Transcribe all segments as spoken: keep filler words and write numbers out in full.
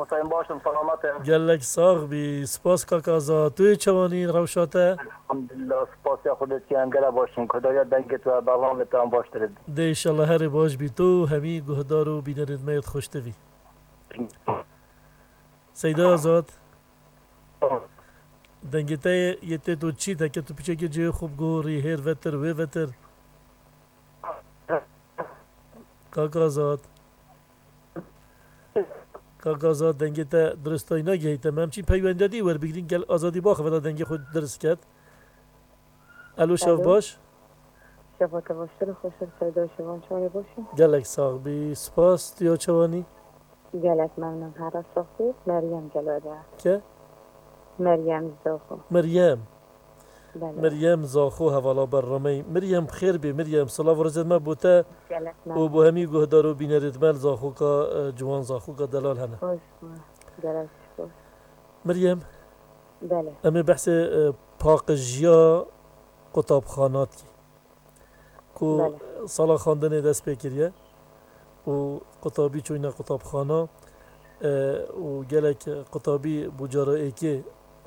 Sayın başım, selamet e. Gelek sax bî. Spas kak Azad. Tu yê çawanî rewşa te? Elhamdülillah, spasiya Xwedê dikim, gelek baş im. Xwedaya dengê te, bernamê te em baş dirin. Dê inşallah herê baş bî. Tu hemî guhdar û bînerên me yê xweş te bî. Seyda Azad. Dengê te yê, yê tê tu çî, te ke tu piçekê cihê xwe bigorî, hêr vetir, wê vetir. Kak Azad. Kak Azad, dengê te diristayî nagihîte me. Em çîn peywendiya dî werbigrin, gel Azadî baxiveta dengê xwe dirist ket. Elo, şev Alo. baş. Şeva te baştir û xweştir, Seyda, şevan çawa ye, baş e? Gelek sax bî, spas, tu ya çawanî? Gelek memnun, her sax bî. Meryem gelo de. Ke? Meryem Zoxo. Meryem. Belê. Meryem Zaxo hevala berrameyî. Meryem, bi xêr bî, Meryem. Silav û rêzên me bo te Gelek û bo hemî guhdar û bînerêt me li Zaxoka, e, ciwan, Zaxoka delal hene. Xweş bû. Gelek spas. Meryem, Belê. em ê behsê, e, paqijiya qutabxana dikî. Ku Belê. sala xwendinê dest pê kiriye û qutabî çûyne qutabxana, e, û gelek qutabî bû cara êkê,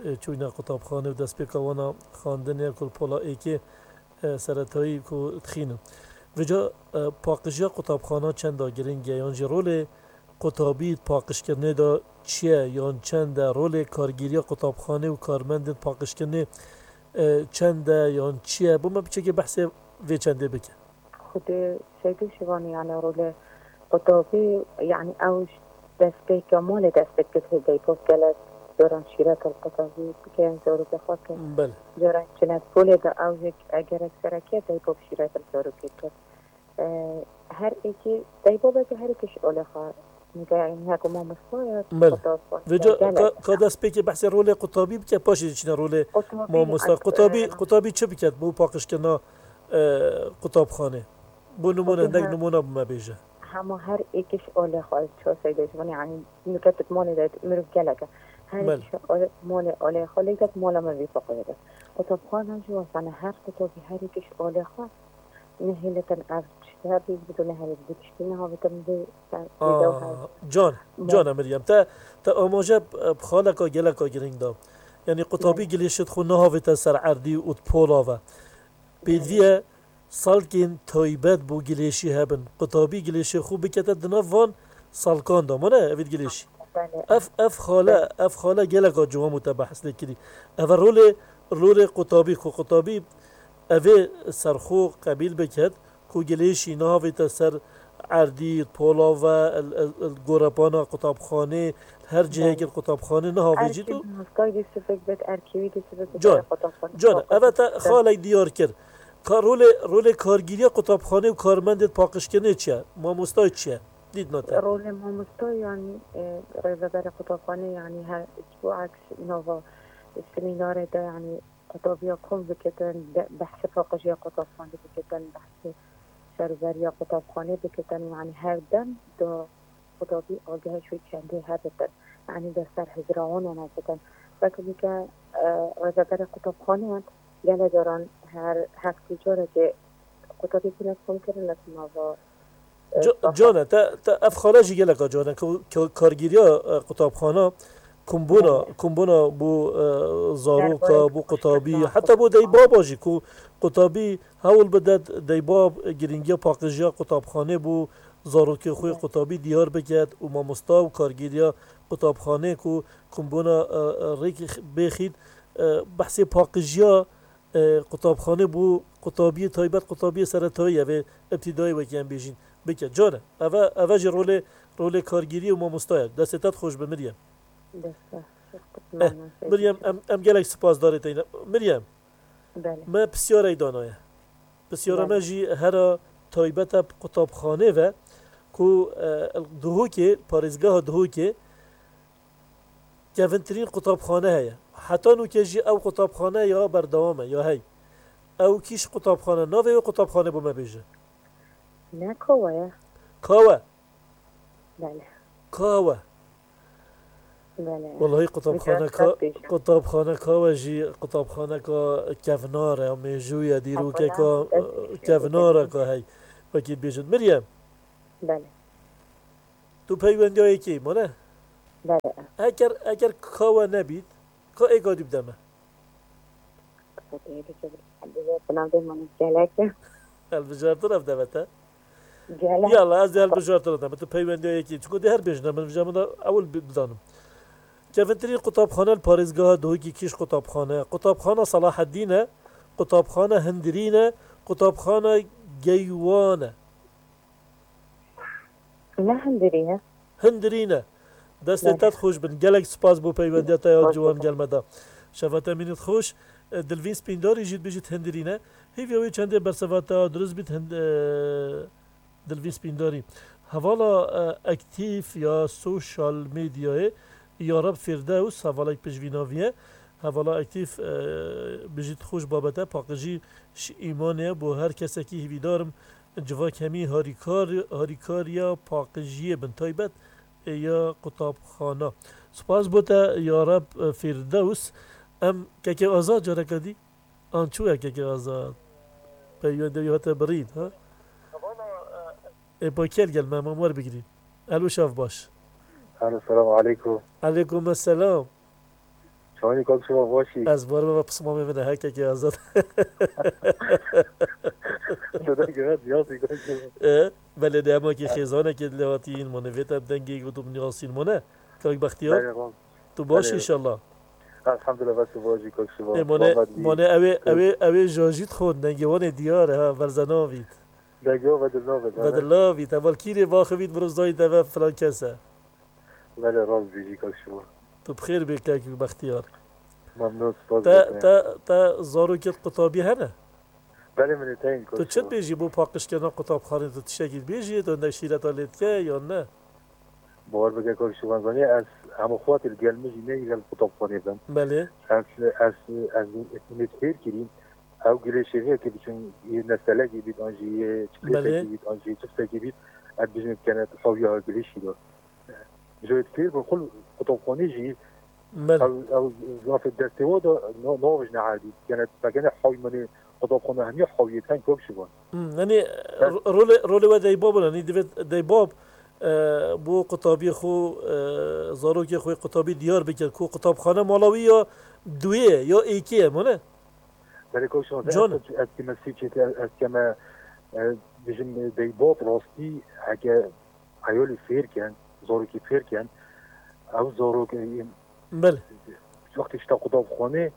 e, çûyne qutabxanê û destpêka wana xwendinê ku li pola êkê, e, seretayî ku dixînin. Vêca, e, paqijiya qutabxana çenda girîng e, yan jî rolê qutabî di paqijkirinê de çi ye yan çend e? Rolê kargêriya qutabxanê û karmendên paqijkirinê, e, çend e yan çi ye? Bo me piçekê behsê vê çendê bike. Xwedê Seydo Şivanî, yani rolê qutabî, yani ew ji destpêka malê dest pê dikir, hê deypov gelek caran şîret li qutabî bike, zarokê xwe ke Belê. caran çine polê de ew jî egerek sereke deypov şîret li zarokê kir. E, her êkî, deypov eke her êkî ji olê xwe nige, yani her ku mamosta ye, Belê. qutab xwe Vêca gelek. ka, ka dest pêkê behsê rolê qutabî bike, paşê diçine rolê Qutabî, mamosta. yani, Qutabî, e, qutabî çi biket bo paqijkirina, e, qutabxanê? Bo nimûne, Xwedê hindek he. nimûne bi me bêje. Hema her êkiş olê xwe, ço seyde ji min, yani, nûke tu malê de mirov gelek e. Her Belê. êkiş olê, malê olê xwe, lê tek mala me vê foqê de. Qutabxana jî wesane, her qutabî her êkiş olê xwe, nehêletin ev tişt hebî, bido nehelî bi tiştî nehavêtin vê ser, vê dew her. Aa, can, Belê. can e Meryem, te, te amaje bi, bi xaleka geleka girîng da. Yani qutabî Belê. gilêşê xwe nehavête ser erdî û di pola ve. Pêdivî ye salkên taybet bo gilêşî hebin. Qutabî gilêşê xwe bikete di nav van salkan de. Mane evê gilêşî. Belê. Ev, ev xale, Belê. ev xale geleka ciwan bû te behs lê kirî. Ev e rolê, rolê qutabî, ku qutabî evê serxwe qebîl biket, ku gilêşî nehavête ser erdî, pola ve, el, el, el, gorepana qutabxanê, her cihekê Belê. qutabxanê nehavêjît û Erkî mostay dê sivik bit, erkî wî dê sivik bit, Can, erê qutabxanê can, eve te xalek diyar kir. Ka rolê, rolê kargîriya qutabxanê û karmendê paqijkirinê çi ye? Mamostay çi ye? Dîtina te. Rolê mamosta, yani, e, rêveberê qutabxanê, yani, her ji bo aks nava semînarê de, yani, qutabiya kom bikitin, be-, behsê paqijiya qutabxanê bikitin, behsê serûberiya qutabxanê bikitin, yani, her dem da qutabî agihê ji wê çendê hebitin, yani, de ser hizrawanan bikin. Weke bike, e, rêveberê qutabxanê gelek caran her heftê carekê qutabî tune kom kirin li nava, e, Ca-, saha. Can e, te, te ev xale jî geleka can e, ku, ku kargêriya, e, qutabxana, kumbûna, Belê. kumbûna bo, e, zaroka, Derbarê bo qutabî, paqijkirin. heta bo deybaba jî, ku qutabî hewl bide deybab, e, girîngiya paqijiya qutabxanê bo zarokê xwe Belê. qutabî diyar biket û mamosta û kargêriya qutabxanê ku kumbûna, e, e, rêk bêxît, e, behsê paqijiya e, qutabxanê bo qutabiyê taybet, qutabiyê seretayî, ev ê îbtidayî wekî em bêjîn, bike. Can e. Eve, eve jî rolê, rolê kargêriyê û mamosta ye. Destê te xweş be, Meryem. Dest baş. Eh, Meryem, em, em gelek spasdarê te ne. Meryem, Belê. me pisyarek danaye. Pisyara me Belê. jî hera taybet e bi qutabxanê ve ku, e, Duhokê, parêzgeha Duhokê, kevintirîn qutabxane heye. Heta nûke jî ew qutabxane ya berdewam e, ya hey. Ew kîş qutabxane, navê wê qutabxane bo me bêje. Ne Kawe ye? Kawe. Belê. Kawe. Belê. Wellahî qutabxane Ka-, qutabxane Kawe jî qutabxaneka kevnar e, ya mêjû ye, dîrokeka, e, kevnareka hey. Wekî bêjin. Meryem. Belê. Tu peywendiya yekê mane? Belê. Eger, eger ka we nebît, ka êka dî bide me. Xwedê biçe bi navê min gelek. Hilbijartin ev deve te. Gelek. Yala, ez dê hilbijartin te. Tu peywendiya yekî. Çiko dê her bêjine min vija min de ewil bi-, bizanim. Kevintirîn qutabxane li parêzgeha Dohikî Kîş qutabxane. Qutabxana Salaheddîn e. Qutabxana Hindirîn e. Qutabxana Geywan e. Ne Hindirîn e? Hindirîn e. Destê te xweş bin. Gelek spas bo peywendiya te ya ciwan gel me da. Şeva te mînît xweş. E, Dilvîn Spîndarî jî dibêjît Hindirîn e. Hîviya wê çendê berseva te ya dirust bît Hind-, e, Dilvîn Spîndarî. Hevala, e, aktîf ya sosyal medyayê Yarab Fîrdews hevalek pişvînavî ye. Hevala aktîf, e, bijît xweş babete paqijî ji îmanê ye bo her kesekî hîvîdar im. Civak hemî harîkar, harîkariya paqijiyê bin taybet ê ya qutabxana. Spas bo te ya Reb, e, Fîrdews. Em kekê Azad careke dî. An çû ye kekê Azad? Peywendê wî hate birîn, ha? Ê, pa kel gel me, me wer bigirîn. Elo şev baş. Alo, selamu aleykum. Aleykum selam. Çawanî kak Şivan, baş î? Ez bar me ve pismamê min e, hekekê Azad. Dede gere diyasî kak Şivan. E, belê de hema ki xêzanekê dilê hatîn, mane vê te bi dengê gotum niyasîn mane. Kak Bextiyar. Belê, rast. Tu baş Belê. inşallah. Elhamdülillah, ve tu baş î kak Şivan. E, mane, Muhammed î. mane ewê, ewê, ewê jajît xon, dengê wan ê diyar e, ha, verzenavît. Dengê ve dilnavît, Ve belê. dilnavît, heval kîrê baxivît, mirov zayît eve filan kes e. Belê, rast bijî kak Şivan. Tu bi xêr bê kek Bextiyar. Memnun, spas Te, dikene. te, te zarokêt qutabî hene? Belê, min ê teyn Tu kak çi Şivan. dibêjî bo paqijkirina qutabxanê, tu tiştekî dibêjî, tu hindek şîreta lê dike yan ne? Bawer bike kak Şivan, zanî ez hemû xwatê li gel min jî neyî gel qutabxanê bin. Belê. Ez, ez, ez, ez fêr kirîm. Ew gilê şêxê ki biçin yê nestelekî bît an jî yê Belê. çiplêsekî bît an jî çiftsekî bît. Ez bijim kene hawiya gilê şî de. Ji wê fêr bin xul qutabxanê jî Belê. ew, ew zafê destê wa da no-, navij ne erdî. Kene pekene hawi menê qutabxana hemiya hawiyê ten kak Şivan. Hmm, yanî, Bes. ro-, rolê, rolê we deybab in, yanî divê deybab, e, bo qutabiyê xwe, e, zarokê xwe qutabî diyar bike ku qutabxane mala wî ya duyê ye, ya êkê ye, mane? Belê kak Şivan, Can. ez, ez keme sî çêtî, ez, ez keme, e, bijim, e, deybab rastî heke eyalî fêr ken, zarokî fêr ken, ew zarok, e, Belê. wextê şita qutabxanê,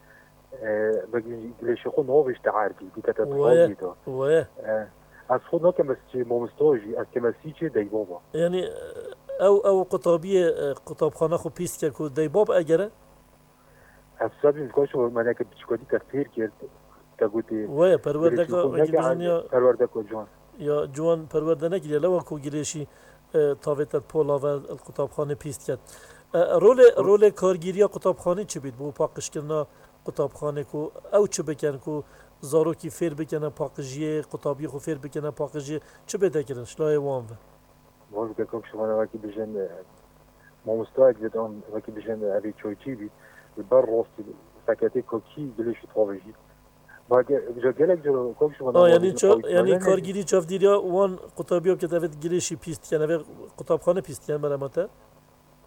e, vegilê şêxo navê ji te erdî, dîkete Weye, dixwazî da. weye. E, ez xwe nakem ez çê mamosta jî, ez keme sî çê deybaba. Yanî, ew, ew qutabiyê, e, qutabxana xwe pîs dike ku deybab egere? Ez sabîm dixwe şo meneke piçîkatî te fêr kir, te gotê, Weye, perwerdeka, girêşî xwe wekî neke bijin erdî, ya, perwerdeka ciwan. ya ciwan perwerde nekiriye, lewa ku girêşî, e, tavê te pola ve el qutabxanê pîs diket. E, rolê, Ro- rolê kargîriya qutabxanê çi bît bo paqijkirina qutabxanê ku ew çi bikin ku zarokî fêr bikene paqijiyê, qutabiyê xwe fêr bikene paqijiyê, çi bête kirin ji layê wan ve? Wan bike kak Şivan, wekî bijin, e, mamostayek bît an wekî bijin, e, evê çayçî bît, li ber rastî seketê kakî gilê şî tavê jî. Bage, ja gelek cara kak Şivan, Ha, wan yanî bijin ça-, yanî kargîrî çavdîriya wan qutabiya bike, devê gilê şî pîs diken, evê qutabxane pîs diken, merema te?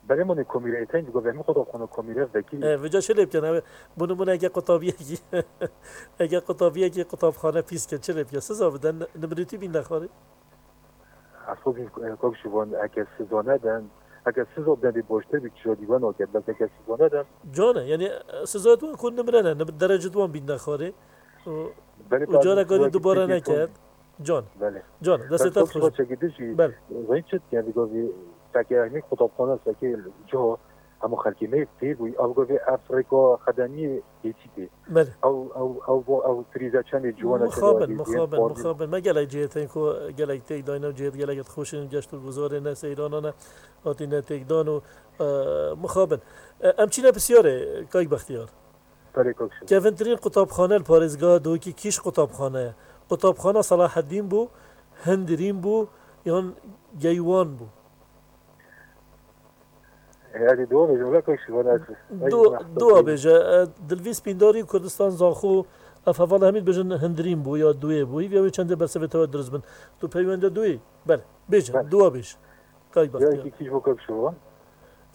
Belê, mane komîreyê tên, digo vehmî qutabxane komîre vekî. E, vêca çi lê bikin? Ev, bi nimûne eke qutabiyekî, eke qutabiyekî qutabxane pîs ke, çi lê bikin? Siza bidin, nimrîtî bîn nexwarî? Ez xwe bîn, e, kak Şivan, eke siza nedin, eke siza bidin dê baştir bî, kişa dî we naket, bes eke siza nedin. Can e, yanî, e, siza tu ku nimrene, nim-, derece tu wan bîn nexwarî. Û, Belê, û belê, careka dî belê, dubare belê, neket. Can. Belê. Can, destê te xweş. Çekî dijî, Belê. Zayîn çi dikin, digo vî, seke hemî qutabxane, seke ca, hemû xelkê me fêr bûyî, ev govê ev rêka xedemiyê hêçî tê. Belê. Ew, ew, ew, bo, ew prîze çendê ciwana çendê Mixabin, azîziyê, mixabin, xwarin. Mixabin. Me gelek cihê tên ku gelek têk dayne û cihê gelek xweş in, geşt û guzarê ne seyranane hatine têkdan û, e, mixabin. E, em çîne pisyarê, Kayk Bextiyar. Belê, kak Şivan. Kevintirîn qutabxane li parêzgeha Dawikî kîş qutabxane ye. Qutabxana Selaheddîn bû, Hindirîn bû yan Geywan bû? E, ez ê dua bêjim, wele kak Şivan, ez, ez Du-, jî mehsûs Dua bêjim. bêje. E, Dilvî Spîndarî Kurdistan Zaxo, ev heval hemî dibêjin Hindirîn bû ya Duyê bû. Hîviya wê çendê bersevê te we dirust bin. Tu peywende Duyê? Belê. Bêje, Belê. dua bêj. Kayk Bextiyar. Yarîkî kîş bo kak Şivan.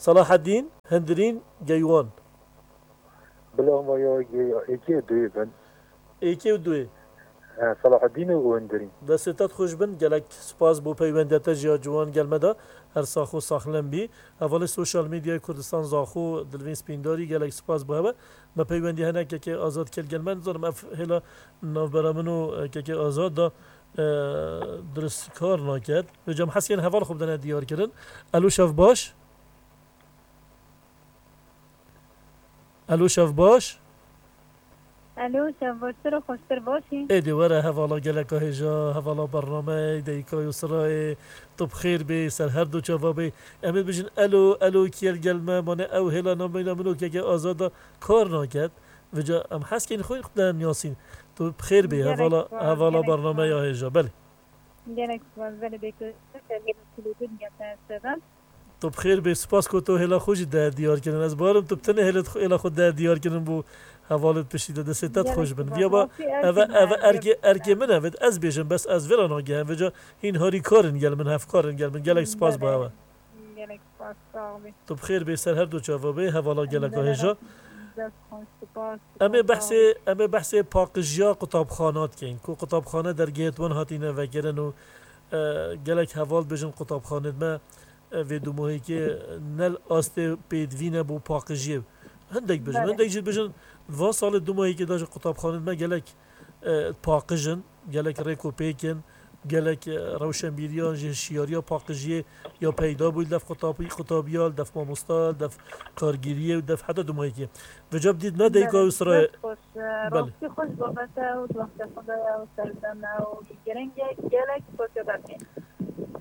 Selahedîn, Hindirîn, Geywan. Bila ma ya gê ya êkê û duyê bin. Êkê û duyê. He, Selahedîn û Hindirîn. Destê te xweş bin, gelek spas bo peywendiya te jî ya ciwan gel me de. Her sax û saxlem bî. Hevalê sosyal medyayê Kurdistan Zaxo Dilvîn Spîndarî, gelek spas bo hewe. Me peywendî hene kekê Azad kel gel me. Nizanim ev hêla navbera min û, e, kekê Azad da, e, dirist kar naket. Vêca em hez kên heval xwe bidene diyar kirin. Elo, şev baş. Elo, şev baş. Elo, şev baştir û xweştir, baş î? Êdî were hevala geleka hêja, hevala bernameyê, Deyka Yusrayê, tu bi xêr bê, ser her du çava bê. Em ê bijin elo, elo, kiyel gel me, mane ew hêla nameyna min û keke Azada kar naket. Vêca em hez kên xwe xwe de niyasîn. Tu bi xêr bê, Gelek hevala, spas, hevala gelek bernameya spas. Hêja. Belê. Gelek spas, belê, Deyka Yusra, ser hêla kulûdû dinya te sedan. Tu bi xêr bê, spas ku tu hêla xwe jî der diyar kirin. Ez barim tu bi tenê hêlê xwe, hêla xwe der diyar kirin bo hevalê piştî de. Destê te Gelek xweş bin. spas. Viya ba, Rastî erkê eve, me, eve erkê, erkê min e, ez bêjim, bes ez vê re nagehim. Vêca hîn harîkar in gel min, hevkar in gel min. Gelek spas bo Belê. hewe. Gelek spas, sağ ol. Tu bi xêr bê, ser her du çava bê, hevala geleka Belê, hêja. Rastî dest xweş, spas, Em ê spas, sağ behsê, ol. em ê behsê paqijiya qutabxana dikeyn. Ku qutabxane dergehê wan hatîne vekirin û, e, gelek heval bêjin qutabxanê me, e, vê dumahîkê ne li astê pêdivî ne bo paqijiyê. Hindek bijin, Belê. hindek jî bijin, van salê dumahîkê de ji qutabxanê me gelek, e, paqij in, gelek rêk û pêk in, gelek, e, rewşenbîriyan jî hişyariya paqijiyê ya peyda bû li def qutabî-, qutabiya, li def mamosta, li def kargêriyê û def heta dumahîkê. Vêca bi dît me Deyka Belê, Yusrayê. dest xweş, e, Belê. rastî xweş babet e û di wextê xwe de ye û serdem e û giring e, gelek spasiya te dikin.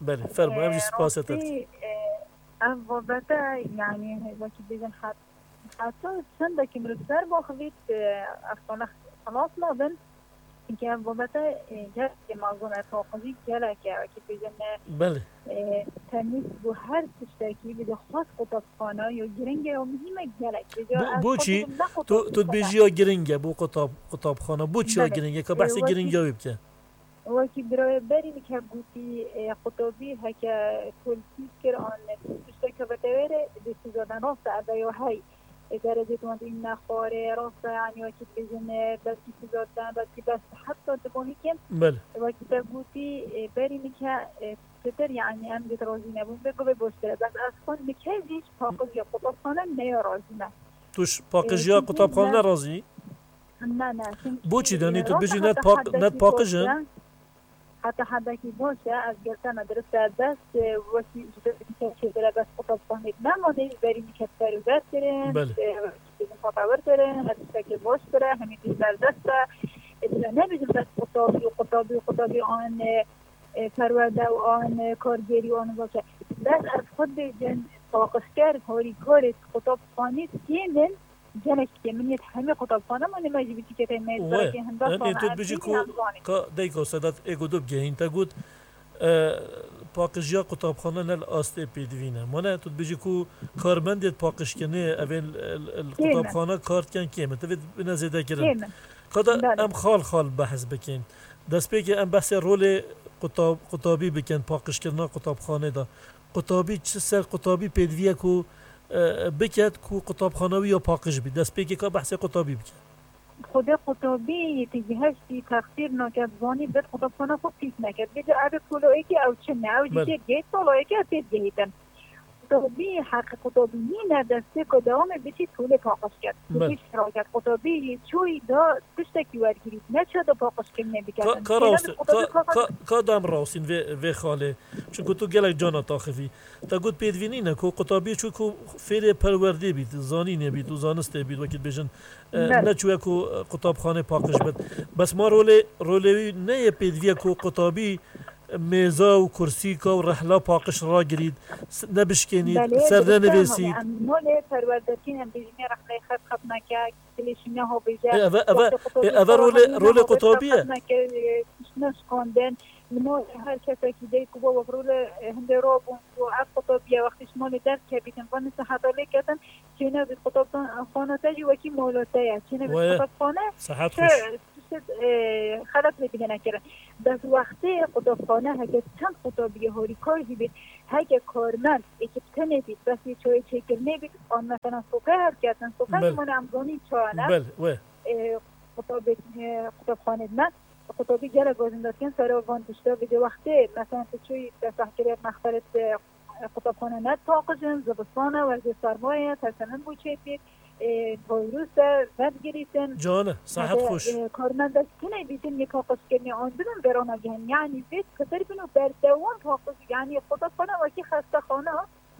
Belê, fermo, em jî E, spasiya te dikin. rastî, e, Ev babete, yanî, wekî bêjin, het-, heta çendekî mirov ser baxivît, e, ev sala xilas nabin. Çimkî ev babete, e, gelekî mezin e, paqijî gelek e, wekî bêjin, e, Belê. e, tenîs bû her tiştekî, bi xwest qutabxana, yo giring e, yo muhîm e gelek. Vêca Bo-, ez xwe boçî? dibim ne Tu, tu qutabxana. dibêjî ya giring e bo qutab-, qutabxana. Boçî ya Belê. giring e? Ka E, behsê wekî giringiya wê bike. Wekî birayê berî min ke gotî, e, qutabî heke koltî kir an tişteke vete wê re, dê siza den, rast e, ev ya hey. E, derecê wan dî ne xwarê, rast e, yanî wekî dibêjin, e, belkî siza den, belkî bes, heta dimahî kim. Belê. Wekî te gotî, e, berî min ke, e, pitir, yanî em dî razî nebûn, bê bivê boştir e. Bes ez xwe min ke jî ji paqijiya qutabxane neya razî me. Tu ji E, paqijiya çünkü qutabxane ne- nerazî? Ne, ne, çünkü, Boçî e, danî tu rast bijî heta net paq-, hedekî net paqij in? boş e. Heta hedekî boş e, ez gel te me dirist e, bes, e, wekî ji te çêdire bes qutabxanê me, ma ne ji berî min ke perwer kirin, Belê. e, wekî bêjin paqewir kirin, her tiştekê boş kire, hemî tişt berdest e. E, tu nebêjin bes qutabî û qutabî û qutabî an, e, e, perwerde û an, e, kargêrî û an baş e. Bes ez xwe dibêjin paqijker, harîkarê qutabxanê kêm in, Gelek kêm in, yê hemî qutabxane mane me jî biçîkê tey me Wê, berekê hinda yanî sane tu em dibêjî tînî ku em zanîn. ka Deyka Sedat ê ku tu bigehîn te got, e, paqijiya qutabxane ne li astê pêdivî ne. Mane tu dibêjî ku karmendê paqijkirinê evên li, li, li Kêm in. qutabxane kar dikin kêm in. Tu vê bine zêde kirin. Kêm in. Ka da Belê. em xal xal behs bikin. Destpêkê em behsê rolê qutab-, qutabî bikin, paqijkirina qutabxanê de. Qutabî çi ser qutabî pêdivî ye ku, e, biket ku qutabxana wî ya paqij bî? Destpêkê ka behsê qutabî bike. Xwedê qutabî yê ti giheştî texsîr nake, zanî bêt qutabxana xwe pîs neke. Bêje ev ê polo êkê ew çi ne? Ew jî Belê. têdigehît, polo êkê ew têdigehîtin. Qutabî, heqê qutabî nîne destê ku dewamê biçî polê paqij ket. Belê. Polê şiraket. Qutabî yê çûyî da tiştekî wergirît. Ne çi da paqijkirinê biketin. Ka, ka Têne rawsî-, bi qutabî ka, paqij ka, ka dem rawsîn vê, vê xalê. Çunku tu gelek cana taxivî. Te got pêdivî nîne ku qutabî çû ku fêrê perwerdê bît, zanînê bît û zanistê bît, wekî dibêjin, e, Belê. ne çûye ku, e, qutabxanê paqij bit. Bes ma rolê, rolê wî ne yê pêdivî ye ku qutabî mêza û kursîka û rehla paqij ragirît, s-, nebişkênît, Belê, ser dirist e, nenivîsît. Em molê perwerdekî em bêjin rexleyê xev xev neke, dilê şî nehabêje. Ê, eve, eve, Wextê ê, qutabî eve xwe rolê, rexleyê rolê nehabêje, qutabî ye. xev neke, e, neşkandin. Li malê her kesekî dayik û baba rolê, e, hindê rabûn û ev qutabî ye. Wextê ji malê derkevîtin, van seheta lê ketin, çênebît qutabxana te jî wekî mala te ye. Çênebît Weye. qutabxane, Sehet te xweş. tişt, e, xelet lê digene kirin. Bes wextê qutabxane heke çend qutabiyê harîkar jî bê, Heke karmend êkî bi tenê bît, bes wê çayê çêkirinê bît, an mesela soke herketin, soke Bel. Min em zanîn çaye ne. Bel, we. Ê, qutabê, ê, qutabxanê me, qutabî gelek wezin datiyen sera van tişta. Vê de wextê, mesela tu çûyî te sehkirê mexferê te, ê, qutabxane ne paqij in, zivistane, wezê sermaye, tersenin bû çêpî, ê, virus e, vengirîtin. Cane, sahet Hede, xweş. Ê, karmendek tune bîtin yê paqij kirinê an dibin berana gehen. Yani vê pitir bin û berdewam paqij, yani qutabxane wekî xestexane,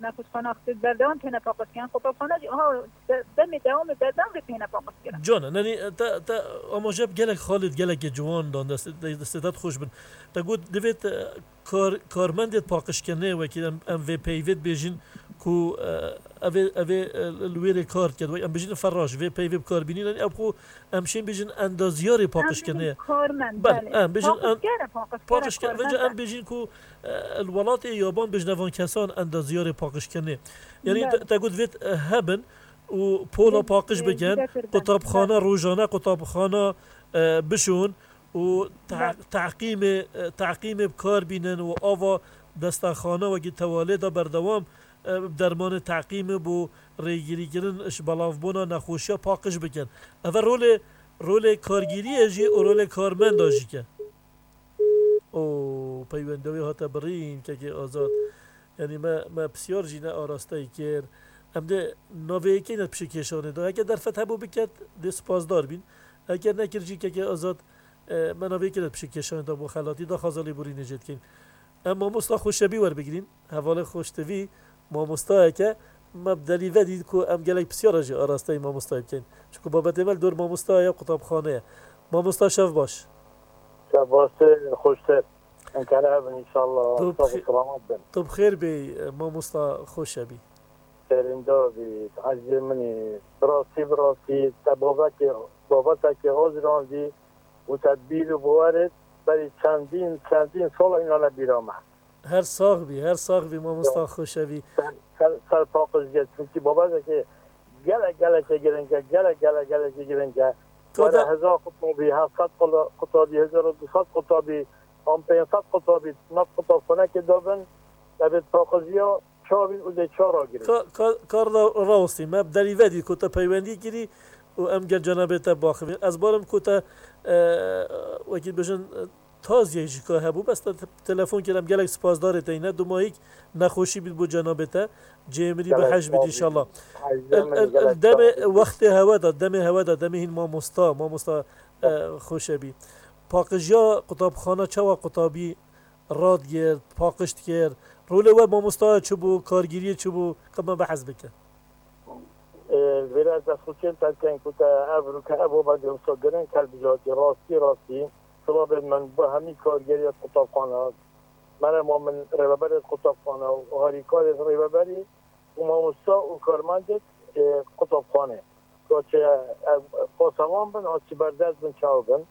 nexweşxane xistê berdewam têne paqij kirin. Qutabxane jî aha de-, demê dewamê berdewam vê têne paqij kirin. Cane, nenî, te, te amaje bi gelek xalê gelekê ciwan dan dest, destê te xweş bin. Te got divê te kar-, karmendê paqijkirinê wekî em, em vê peyvê dibêjin ku, e, ev ê, ev ê, e, li wêrê kar diket. Wek em bêjin ferraş, vê peyvê bi kar bînîn, ev xwe em şên bêjin endaziyarê paqijkirinê. Em bêjin karmend, Bel, belê. Em bêjin en-, Paqijker e, paqijker e, paqijker, karmend vêca em e. Bêjin ku, e, li welatê yaban bêjin evan kesan endaziyarê paqijkirinê. Yanî Bel. te, te got vêt, e, hebin û pola Vê, paqij e, bikin, zêdetir ben. Qutabxana Bel. Rojane, qutabxana, e, bişon. û te-, Bel. teqîmê, teqîmê bi kar bînin û ava destexane wekî tewalê de berdewam, e, bi dermanê teqîmê bo rêgirîkirin ji belavbûna nexweşiya paqij bikin. Ev e rolê, rolê kargîriyê jî û rolê karmenda jî ke. O peywendiya wê hate birîn, kekê Azad. Yanî me, me pisyar jî ne arasteyî kir. Em dê navê yekê ne pişikêşanê de. Heke derfet hebû biket, dê spasdar bîn. Heke nekir jî kekê Azad, e, me navê yekê ne pişikêşanê de bo xelatî daxwaza lêborînê jê dikeyn. Em mamosta Xweşebî werbigirîn. Hevalê Xweştevî mamostayeke me bi delî vedî ku em gelek pisyara jî arasteyî mamostayê bikeyn. Çunku babetê me li dor mamosta ye, qutabxane ye. Mamosta şev baş. Şev baş, xweştir. Em kare hebin înşallah. Tu bi Sağ ol, xê-, selamet bin. Tu bi xêr bî, mamosta Xweşebî. Serînda bî, ezîzê min î. Bi rastî, bi rastî, te babekê, babetekê azirandî û te bîr û bawer it, berî çendîn, çendîn sala îna ne bîra me. Her sax bî, her sax bî, mamosta Ya. Xweşebî. Ser, ser, ser paqij gel. Çunkî babetekê gelek, gelekê giring e, gelek, gelek, gelekê giring e. Ka Were da- hezar qutabî, heft sed qula-, qutabî, hezar û du sed qutabî, an pênc sed qutabî, nav qutabxanekê dabin, evê paqijiya çavîn û dê çara girê. Ka-, ka-, kar da rawestî, me bi delî vedî ku te peywendî kirî û em gel cenabê te baxivîn. Ez barim ku te, e, wekî dibêjin, e, taziyek jî ka hebû, bes te, te telefon kir, em gelek spasdarê te yî ne. Dumahîk nexweşî bît bo cenabê te. Cihê mirî bi Gelek hej bît sağ ol. Înşallah. Hej El, min el, el gelek demê sağ ol. Wextê hewe de, demê hewe de, demê hîn mamosta, mamosta, e, Xweşebî. Paqijiya qutabxana çawa qutabî radigirt, paqij dikir? Rolê we mamosta çi bû, kargîriyê çi bû? Ka me behs bikin. Ê, vêre ez destxweşiyên te dikin ku te ev rûke ev ova girewsa girin kel bijatî rastî rastî. Silavên min bo hemî kargeriya qutabxana, merema min rêveberê qutabxana û harîkarê rêveberî û mamosta û karmendê, ê, qutabxanê. Kaçe ev pasevan bin, a çi berdest bin, çaw bin.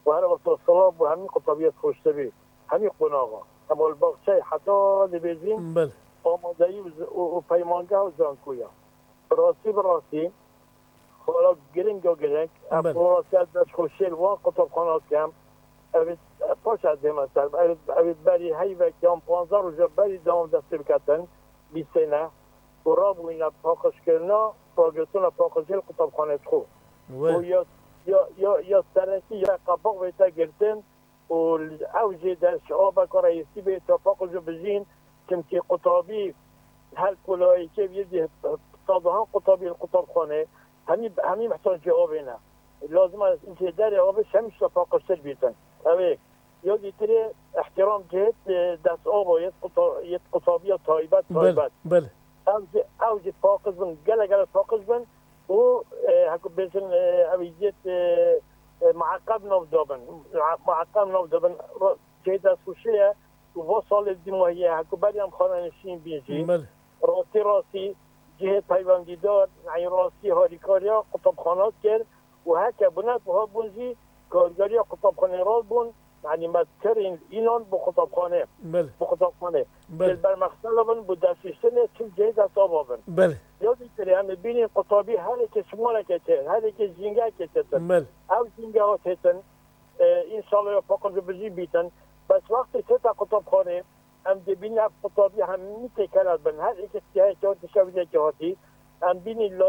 Û her wexta silav bo hemî qutabiyê Xweştevî, hemî qonaxa. Hema li baxçeyê heta dibêjin Belê. amadeyî û z-, û, û peymangeha zankoya. Bi rastî, bi rastî, xala giring a giring. Em Belê. bi rastî ez destxweşiyê li wan qutabxana dikim. Ev ê, paş ez dême ser. Ev ê, ev ê berî heyvek yan panzdeh roja berî dewam destê biketin. Bîstêne. Û rabûyîne paqijkirina, ragirtina paqijê li qutabxanê dixwe. We. Û ya, ya, ya, ya serekî ya qebaq bête girtin û ew jê der ji abeka reyîsî bê ta paqij û bijîn, çimkî qutabî her kolayekê vê dî sadohan qutabî li qutabxanê, hemî, hemî mihtancê avê ne. Lazim e jê derê avê hemî şta paqijtir bîtin. Ew ê Ya dîtirê ihtiram cihêt, e, dest ava yêt quta-, yêt qutabiya taybet, Belê, taybet. belê. Ew jî, ew jî paqij bin, gelek, gelek paqij bin û, e, heko bêjin, e, ew yêt, e, e, mueqeb nav dabin. Mue-, mueqeb nav dabin. Ra-, cihê destxweşê ye û va salê dîmahiyê heko berî em xanenişîn bîn jî. Belê. Rastî, rastî cihê peywendîdar, yanî rastî harîkariya qutabxana kir û heke binek wiha bûn jî kargeriya qutabxanê rast bûn, yanî me kirîn înan bi qutabxanê, Belê. bi qutabxanê. Belê. Li ber mexsela bin bi destiştinê çil cihê destava bin. Belê. Ya dîtirê em ê bînîn qutabî herêkê şimalekê tê, herêkê jîngehekê têtin. Belê. Ew jîngeha têtin, e, înşallah ya paqij û bijî bîtin. Bes wextê têta qutabxanê, Em dê bînin ev qutabî hemî têkera dibin. Her êkê tiştê heye ke dişewîne ke hatî. Em bînî